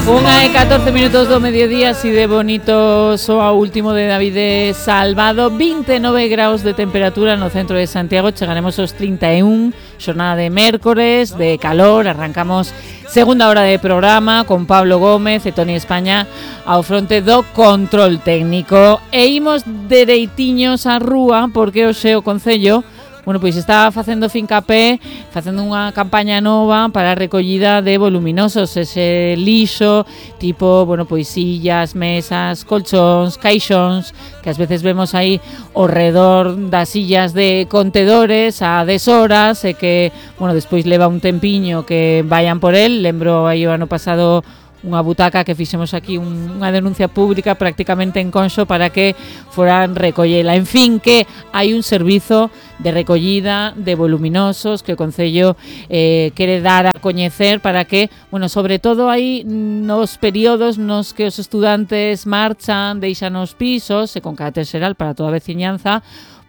Unha e 14 minutos do mediodía, así de bonito soa o último de David Salvado. 29 graus de temperatura no centro de Santiago, chegaremos aos 31, xornada de mércores, de calor. Arrancamos segunda hora de programa con Pablo Gómez e Toni España ao fronte do control técnico. E imos dereitiños á rúa porque hoxe o Concello pois está facendo fincapé, facendo unha campaña nova para a recollida de voluminosos, ese lixo, tipo, pois sillas, mesas, colchóns, caixóns, que ás veces vemos aí ao redor das sillas de contedores a deshoras e que, despois leva un tempiño que vayan por el. Lembro aí o ano pasado unha butaca que fixemos aquí unha denuncia pública prácticamente en Conxo para que foran recollela. En fin, que hai un servizo de recollida de voluminosos que o Concello quere dar a coñecer para que, sobre todo aí nos períodos nos que os estudantes marchan, deixan os pisos e con carácter xeral para toda a veciñanza,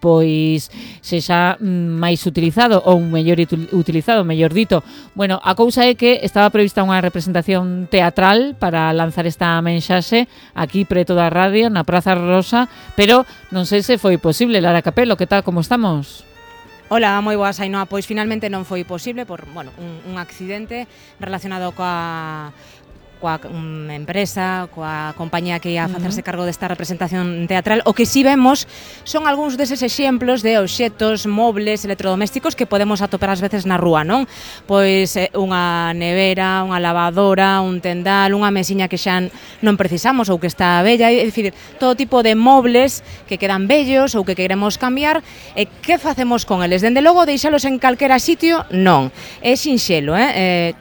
pois sexa máis utilizado ou mellor utilizado, mellor dito. A cousa é que estaba prevista unha representación teatral para lanzar esta mensaxe aquí preto da radio, na Praza Rosa, pero non sei se foi posible. Lara Capelo, que tal, como estamos? Hola, moi boas, Ainhoa. Pois finalmente non foi posible por, un accidente relacionado coa empresa, coa compañía que ia a facerse cargo desta representación teatral. O que si vemos son algúns deses exemplos de obxetos, mobles, electrodomésticos que podemos atopar ás veces na rúa, non? Pois unha nevera, unha lavadora, un tendal, unha mesiña que xa non precisamos ou que está bella, é dicir, todo tipo de mobles que quedan bellos ou que queremos cambiar. E que facemos con eles? Dende logo, deixalos en calquera sitio? Non. É sinxelo,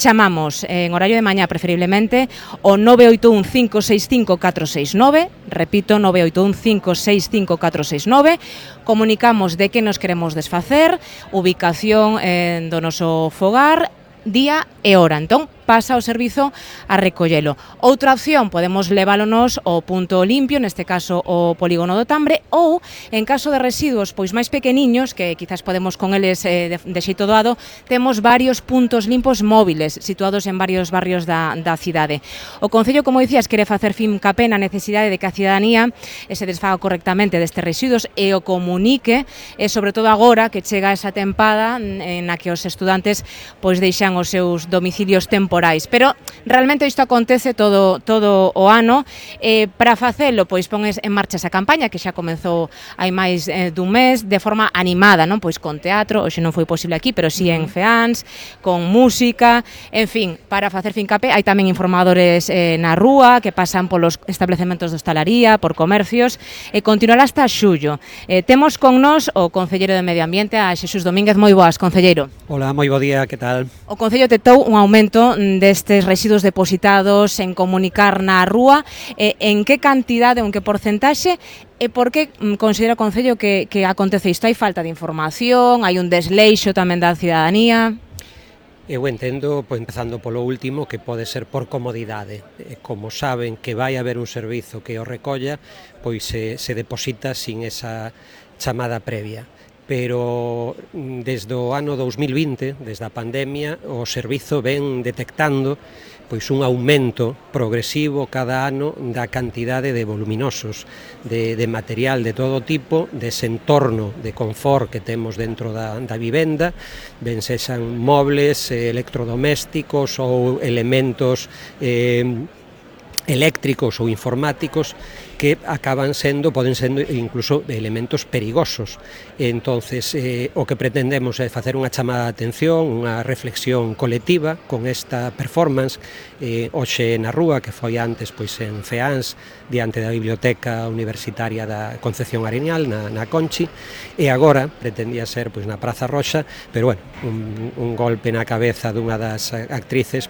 chamamos en horario de mañá preferiblemente o 981-565-469, repito, 981-565-469, comunicamos de que nos queremos desfacer, ubicación do noso fogar, día e hora. Entón, pasa o servizo a recollelo. Outra opción, podemos leválonos ao punto limpio, neste caso o polígono do Tambre, ou, en caso de residuos pois máis pequeniños, que quizás podemos con eles de xeito doado, temos varios puntos limpos móviles, situados en varios barrios da cidade. O Concello, como dicías, quere facer fincapé na necesidade de que a cidadanía se desfaga correctamente destes residuos e o comunique, e sobre todo agora que chega esa tempada na que os estudantes pois deixan os seus domicilios temporais. Pero realmente isto acontece todo o ano. Para facelo, pois pon en marcha esa campaña que xa comezou hai máis dun mes de forma animada, non? Pois con teatro, hoxe non foi posible aquí, pero si en Feáns, con música, en fin, para facer fincapé. Hai tamén informadores na rúa que pasan polos establecementos de hostalaría, por comercios, e continuará hasta xullo. Temos con nós o concelleiro de Medio Ambiente, a Xesús Domínguez. Moi boas, concelleiro. Hola, moi bo día, que tal? O Concello detectou un aumento destes residuos depositados en comunicar na rúa. En que cantidade ou en que porcentaxe e por que considera o Concello que acontece isto? Hai falta de información, hai un desleixo tamén da cidadanía? Eu entendo, empezando polo último, que pode ser por comodidade. Como saben que vai haber un servizo que o recolla, pois se deposita sin esa chamada previa. Pero desde o ano 2020, desde a pandemia, o servizo ven detectando pois un aumento progresivo cada ano da cantidade de voluminosos, de material de todo tipo, dese entorno de confort que temos dentro da vivenda, ben sexan mobles, electrodomésticos ou elementos eléctricos ou informáticos que poden sendo incluso elementos perigosos. Entonces, o que pretendemos é facer unha chamada de atención, unha reflexión colectiva con esta performance, hoxe na rúa, que foi antes en Feáns, diante da Biblioteca Universitaria da Concepción Arenal, na Conchi, e agora pretendía ser na Praza Roxa, pero un golpe na cabeza dunha das actrices,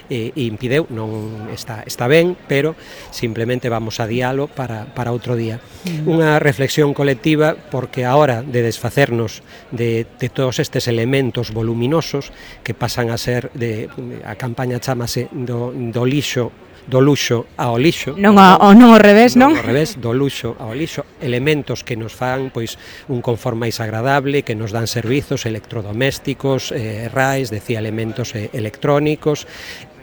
impideu, non está ben, pero simplemente vamos a diálogo para outro día. Unha reflexión colectiva porque a hora de desfacernos de todos estes elementos voluminosos que pasan a ser, a campaña chamase do lixo do luxo ao lixo. Non ao revés, non? Ao revés, do luxo ao lixo, elementos que nos fan pois un confort máis agradable, que nos dan servizos electrodomésticos, RAEs, decía elementos electrónicos,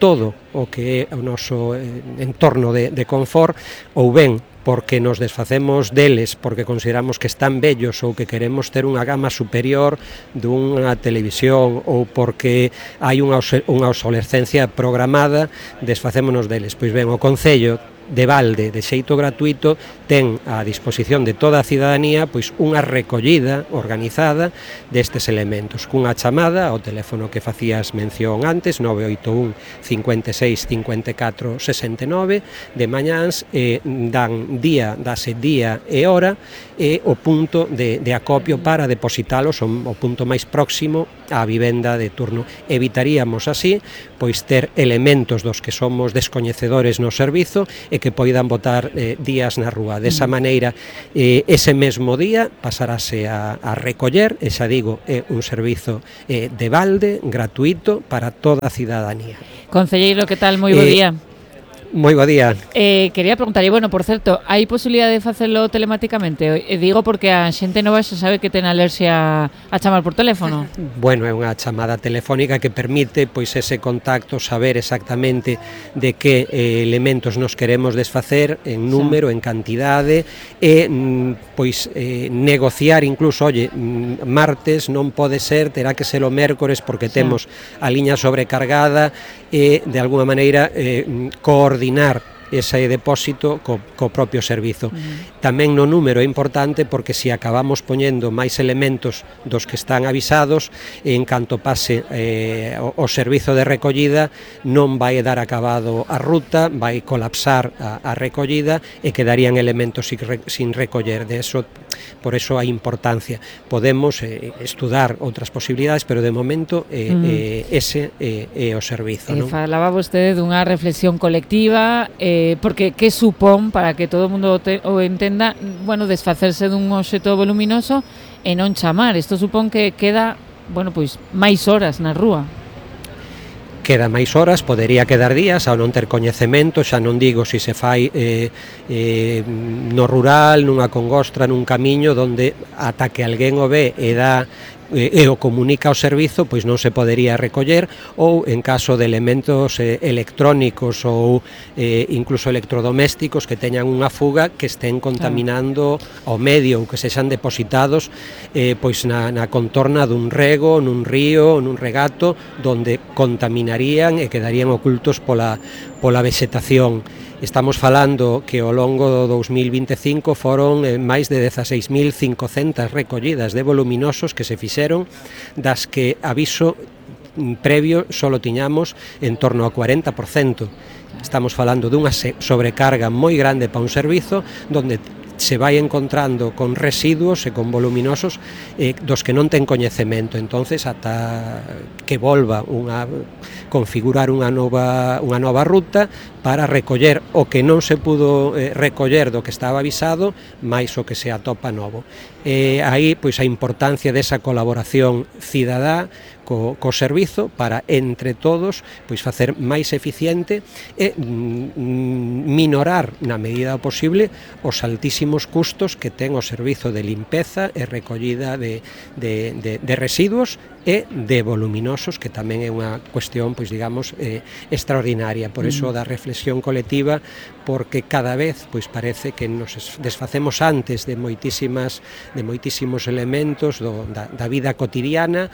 todo o que é o noso entorno de confort, ou ben porque nos desfacemos deles porque consideramos que están vellos ou que queremos ter unha gama superior dunha televisión ou porque hai unha obsolescencia programada, desfacémonos deles. Pois ben, o Concello de balde, de xeito gratuito, ten a disposición de toda a cidadanía pois unha recollida organizada destes elementos, cunha chamada ao teléfono que facías mención antes, 981 56 54 69, de mañáns, dase día e hora, e o punto de acopio para depositalos o punto máis próximo á vivenda de turno. Evitaríamos así pois ter elementos dos que somos descoñecedores no servizo e que poidan botar días na rúa. Desa maneira, ese mesmo día pasarase a recoller, e xa digo, é un servizo de balde, gratuito, para toda a cidadanía. Concelleiro, que tal? Moi bo día. Moi bo día. Quería preguntarlle, bueno, por certo, hai posibilidade de facelo telematicamente? Digo porque a xente nova xa sabe que ten alerxia a chamar por teléfono. Bueno, é unha chamada telefónica que permite pois ese contacto, saber exactamente de que elementos nos queremos desfacer en número, en cantidade, e pois negociar incluso, oye, martes non pode ser, terá que ser o mércores porque temos a liña sobrecargada, e de alguna maneira coordinar ese depósito co propio servizo. Tamén no número é importante porque se acabamos poñendo máis elementos dos que están avisados, en canto pase o servizo de recollida non vai dar acabado a ruta, vai colapsar a recollida e quedarían elementos sin recoller. Por eso a importancia. Podemos estudar outras posibilidades, pero de momento ese é o servizo. Falaba vostede dunha reflexión colectiva, porque que supón, para que todo o mundo o entenda, bueno, desfacerse dun obxecto voluminoso e non chamar. Isto supón que queda, bueno, pois máis horas na rúa. Queda máis horas, podería quedar días ao non ter coñecemento, xa non digo se fai no rural, nunha congostra, nun camiño donde ata que alguén o ve e o comunica ao servizo, pois non se podería recoller, ou en caso de elementos electrónicos ou incluso electrodomésticos que teñan unha fuga que estén contaminando o medio ou que sexan depositados pois na contorna dun rego, nun río, nun regato, donde contaminarían e quedarían ocultos pola vexetación. Estamos falando que ao longo do 2025 foron máis de 16.500 recollidas de voluminosos que se fixeron, das que aviso previo solo tiñamos en torno ao 40%. Estamos falando dunha sobrecarga moi grande para un servizo donde se vai encontrando con residuos e con voluminosos dos que non ten coñecemento. Entonces, ata que volva configurar unha nova ruta para recoller o que non se pudo recoller do que estaba avisado, máis o que se atopa novo. Aí, pois, a importancia desa colaboración cidadá co servizo para, entre todos, pois facer máis eficiente e minorar, na medida posible, os altísimos custos que ten o servizo de limpeza e recollida de residuos e de voluminosos, que tamén é unha cuestión, pois digamos, extraordinaria. Por iso da reflexión colectiva, porque cada vez pois parece que nos desfacemos antes de moitísimos elementos da vida cotidiana,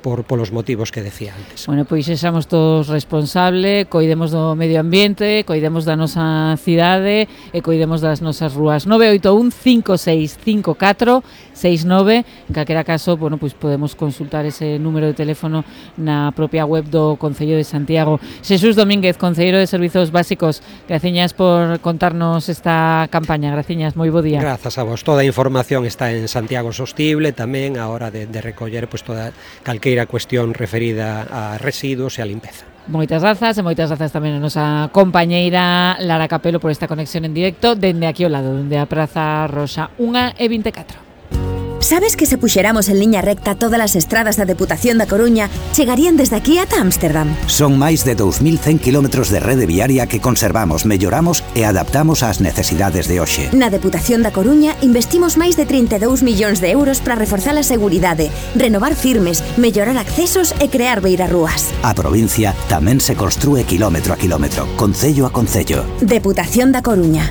polos motivos que decía antes. Bueno, pois sexamos todos responsables, coidemos do medio ambiente, coidemos da nosa cidade e coidemos das nosas rúas. 981 5654 69. En calquera caso, bueno, pois podemos consultar ese número de teléfono na propia web do Concello de Santiago. Xesús Domínguez, concelleiro de Servizos Básicos, graciñas por contarnos esta campaña. Graciñas, moi bo día. Grazas a vos. Toda a información está en Santiago Sostible, tamén a hora de recoller pois toda calqueira cuestión referida a residuos e a limpeza. Moitas grazas tamén a nosa compañeira Lara Capelo por esta conexión en directo dende aquí ao lado, dende a Praza Roxa. 1:24. Sabes que se puxeramos en liña recta todas as estradas da Deputación da Coruña chegarían desde aquí ata Ámsterdam? Son máis de 2.100 kilómetros de rede viaria que conservamos, melloramos e adaptamos ás necesidades de hoxe. Na Deputación da Coruña investimos máis de 32 millóns de euros para reforzar a seguridade, renovar firmes, mellorar accesos e crear beirarrúas. A provincia tamén se construe kilómetro a kilómetro, concello a concello. Deputación da Coruña.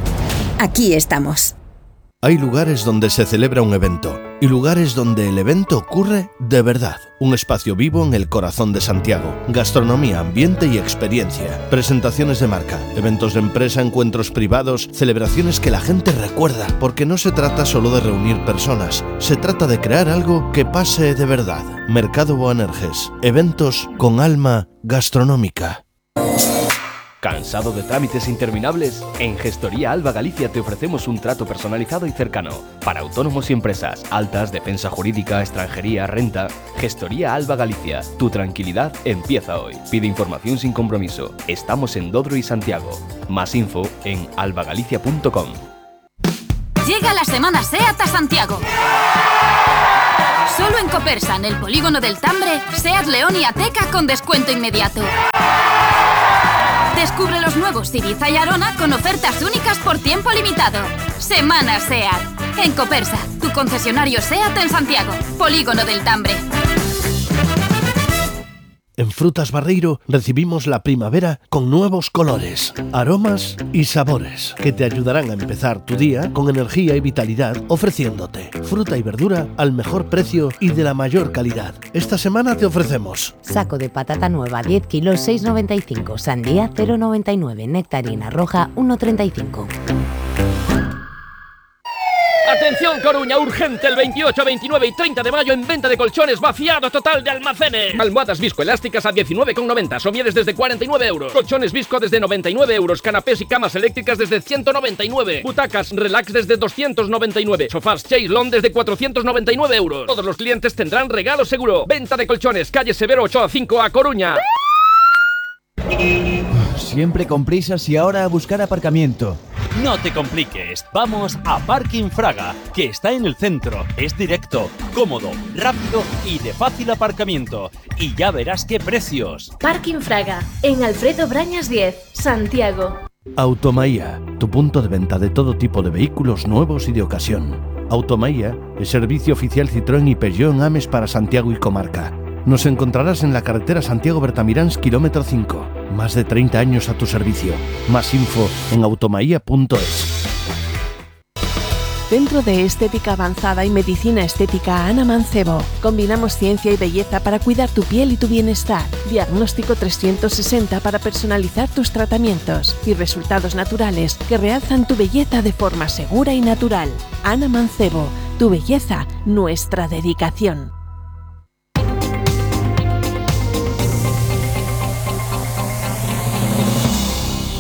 Aquí estamos. Hay lugares donde se celebra un evento y lugares donde el evento ocurre de verdad. Un espacio vivo en el corazón de Santiago. Gastronomía, ambiente y experiencia. Presentaciones de marca, eventos de empresa, encuentros privados, celebraciones que la gente recuerda. Porque no se trata solo de reunir personas, se trata de crear algo que pase de verdad. Mercado Boanerges. Eventos con alma gastronómica. ¿Cansado de trámites interminables? En Gestoría Alba Galicia te ofrecemos un trato personalizado y cercano para autónomos y empresas, altas, defensa jurídica, extranjería, renta. Gestoría Alba Galicia, tu tranquilidad empieza hoy. Pide información sin compromiso. Estamos en Dodro y Santiago. Más info en albagalicia.com. Llega la semana SEAT a Santiago. Solo en Copersa, en el polígono del Tambre, SEAT León y Ateca con descuento inmediato. Descubre los nuevos Ibiza y Arona con ofertas únicas por tiempo limitado. Semana SEAT. En Copersa, tu concesionario SEAT en Santiago. Polígono del Tambre. En Frutas Barreiro recibimos la primavera con nuevos colores, aromas y sabores que te ayudarán a empezar tu día con energía y vitalidad, ofreciéndote fruta y verdura al mejor precio y de la mayor calidad. Esta semana te ofrecemos saco de patata nueva 10 kilos 6,95, sandía 0,99, nectarina roja 1,35. Atención Coruña, urgente el 28, 29 y 30 de mayo en venta de colchones, vaciado total de almacenes. Almohadas viscoelásticas a 19,90, somieres desde 49 euros. Colchones visco desde 99 euros, canapés y camas eléctricas desde 199. Butacas relax desde 299. Sofás Chaislon desde 499 euros. Todos los clientes tendrán regalo seguro. Venta de colchones, calle Severo 8 a 5 a Coruña. Siempre con prisas y ahora a buscar aparcamiento. No te compliques, vamos a Parking Fraga, que está en el centro, es directo, cómodo, rápido y de fácil aparcamiento. Y ya verás qué precios. Parking Fraga, en Alfredo Brañas 10, Santiago. Automaía, tu punto de venta de todo tipo de vehículos nuevos y de ocasión. Automaía, el servicio oficial Citroën y Peugeot en Ames para Santiago y comarca. Nos encontrarás en la carretera Santiago-Bertamiráns, kilómetro 5. Más de 30 años a tu servicio. Más info en automaía.es. Centro de Estética Avanzada y Medicina Estética Ana Mancebo. Combinamos ciencia y belleza para cuidar tu piel y tu bienestar. Diagnóstico 360 para personalizar tus tratamientos. Y resultados naturales que realzan tu belleza de forma segura y natural. Ana Mancebo. Tu belleza, nuestra dedicación.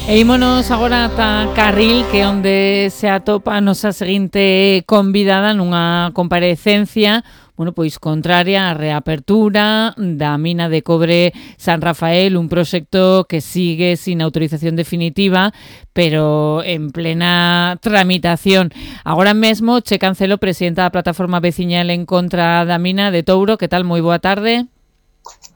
E ímonos agora ata Carril, que onde se atopa a nosa seguinte convidada nunha comparecencia, pois contraria á reapertura da mina de cobre San Rafael, un proxecto que sigue sin autorización definitiva, pero en plena tramitación. Agora mesmo, Che Cancelo, presidenta da plataforma veciñal en contra da mina de Touro. Que tal? Moi boa tarde.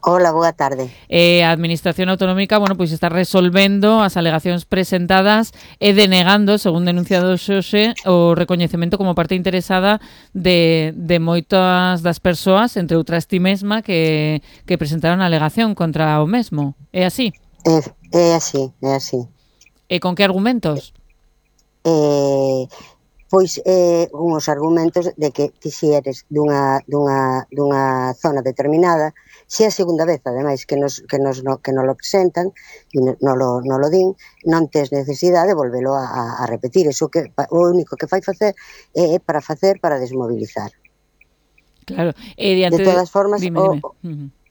Hola, boa tarde. A Administración Autonómica, pois está resolvendo as alegacións presentadas e denegando, según denunciado Xose, o recoñecemento como parte interesada de moitas das persoas, entre outras ti mesma, que presentaron a alegación contra o mesmo. É así? É así, é así. E con que argumentos? Pois unhos argumentos de que ti si eres dunha zona determinada, se é a segunda vez, ademais, que nos lo presentan e non lo din, non tes necesidade de volvelo a repetir. Eso que o único que fai facer é para desmobilizar. Claro. De todas formas, dime.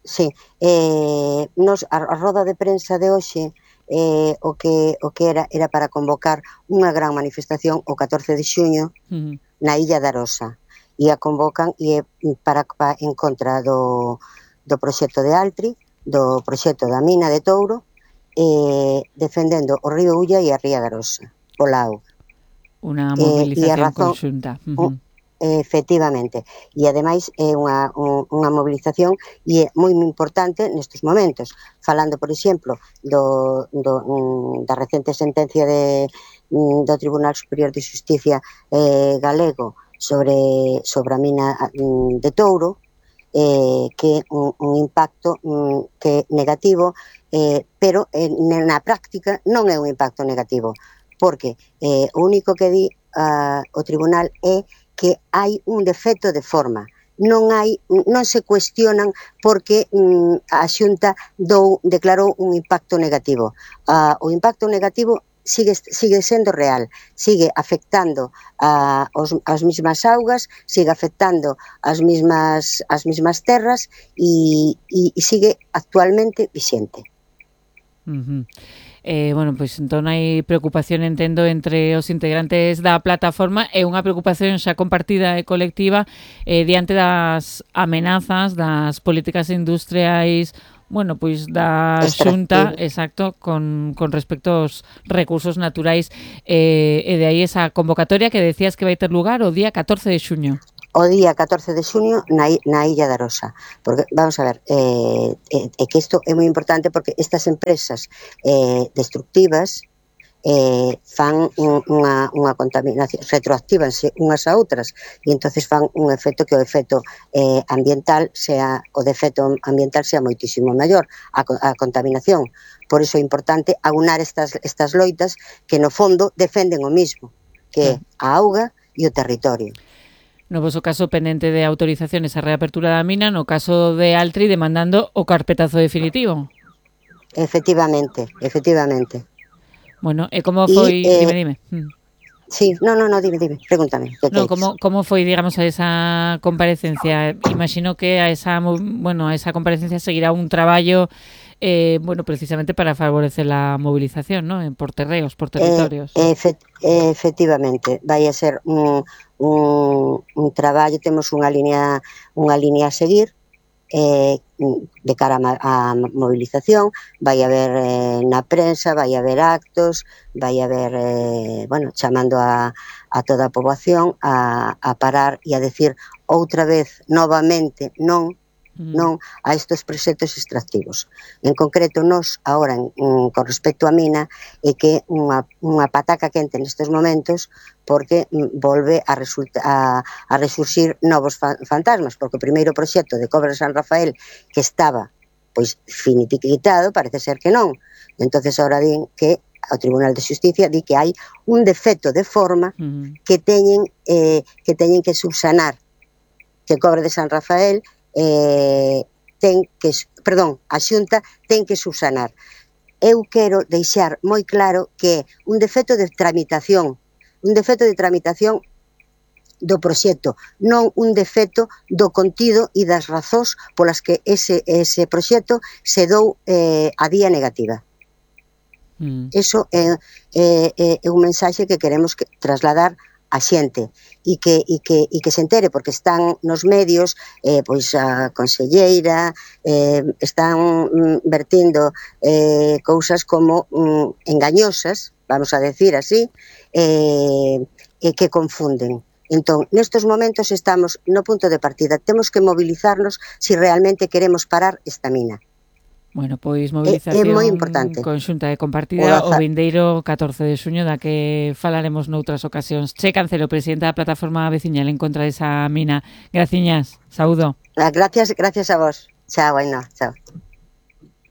Sí, a roda de prensa de hoxe o que era para convocar unha gran manifestación o 14 de xuño na Illa de Arosa, e a convocan e é en contra do proxecto de Altri, do proxecto da mina de Touro, defendendo o río Ulla e a ría de Arosa, pola auga. Unha movilización conxunta. efectivamente, e ademais é unha mobilización e é moi importante nestes momentos, falando, por exemplo, da recente sentencia do Tribunal Superior de Xusticia galego sobre a mina de Touro, que é un impacto que é negativo, pero na práctica non é un impacto negativo, porque o único que di o tribunal é que hai un defecto de forma, non se cuestionan porque a Xunta declarou un impacto negativo. O impacto negativo sigue sendo real, sigue afectando as mesmas augas, sigue afectando as mesmas terras e sigue actualmente vixente. Bueno, pois entón hai preocupación, entendo, entre os integrantes da plataforma e unha preocupación xa compartida e colectiva diante das amenazas das políticas industriais, bueno, pois da Xunta, exacto, con respecto aos recursos naturais, e de aí esa convocatoria que decías que vai ter lugar o día 14 de xuño. O día 14 de xuño na Illa de Arosa, porque, vamos a ver, é que isto é moi importante porque estas empresas destructivas fan unha contaminación, retroactívanse unhas a outras e entonces fan un efecto que o efecto ambiental sea moitísimo maior, a contaminación. Por iso é importante aunar estas loitas que no fondo defenden o mismo, que é a auga e o territorio. No voso caso pendente de autorizaciones a reapertura da mina, no caso de Altri demandando o carpetazo definitivo. Efectivamente. Bueno, e como foi... Dime. Sí, no, dime, pregúntame. No, como foi, digamos, a esa comparecencia? Imagino que a esa comparecencia seguirá un traballo, precisamente para favorecer la movilización, ¿no? Por terreos, por territorios. Efectivamente, vai a ser un traballo, temos unha línea a seguir, de cara á movilización, vai haber na prensa, vai haber actos, vai haber, chamando a toda a poboación a parar e a decir outra vez, novamente, non a estes proxectos extractivos. En concreto, nós, agora, con respecto á mina, é que unha pataca quente nestes momentos porque volve a resurxir novos fantasmas, porque o primeiro proxecto de Cobra de San Rafael que estaba finiquitado, parece ser que non. Entonces, agora din que o Tribunal de Xusticia di que hai un defecto de forma que teñen que subsanar, que Cobra de San Rafael a Xunta ten que subsanar. Eu quero deixar moi claro que un defecto de tramitación do proxecto, non un defecto do contido e das razóns polas que ese proxecto se dou a vía negativa. Eso é un mensaxe que queremos trasladar a xente e que se entere, porque están nos medios, pois a conselleira, están vertindo cousas como engañosas, vamos a decir así, que confunden. Entón, nestes momentos estamos no punto de partida, temos que mobilizarnos se realmente queremos parar esta mina. Bueno, pois movilización conxunta e compartida o vindeiro 14 de xuño, da que falaremos noutras ocasións. Che Cancelo, presidenta da plataforma veciñal en contra desa mina. Graciñas, saúdo. Gracias a vos. Chao, Ainhoa, chao.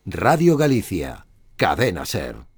Radio Galicia, Cadena SER.